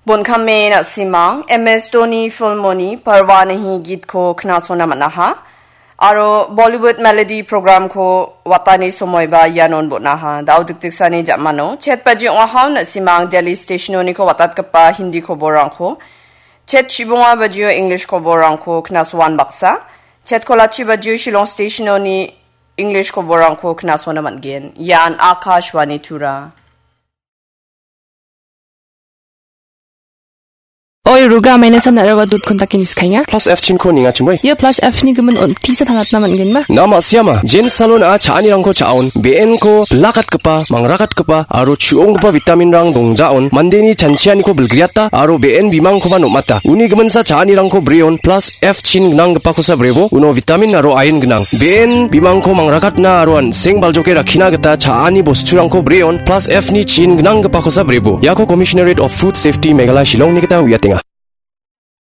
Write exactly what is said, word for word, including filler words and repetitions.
Bon·kame na·simang M S Dhoni filmoni Parwanahi gitko knasona man·aha. Aro Bollywood melody programko watani somoiba ianon bon·aha. Da·o dikdiksani ja·mano chet baji ong·aha na·simang Delhi stationoniko watatgipa Hindi koborrangko, chet chibonga bajio English koborrangko knasoan baksa, chet kolachi bajio Shillong stationoni English koborrangko knasona man·gen. Ian Akashvani Tura. Oi, Ruga, amaina san narawa dot kontaki niskainga. Plus F chinko ninga chimoi. Ia plus F ni gimin on tisa tangatna man·genma. Na ma·siama, Jen Salon a cha·anirangko cha·on, B N ko bilakatgipa, mangrakatgipa, aro chu·onggipa vitamin rang dongjaon, mandeni chanchianiko bilgriata, aro B N bimangkoba nom·ata. Uni giminsa cha·anirangko breon, plus F chin gnanggipakosa brebo, uno vitamin aro iron gnang. B N bimangko mangrakatna aro an·seng baljoke rakkina gita cha·ani bosturangko breon, plus F ni chin gnanggipakosa brebo. Iako Commissionerate of Food Safety Meghalaya Shillong ni gita uiatenga.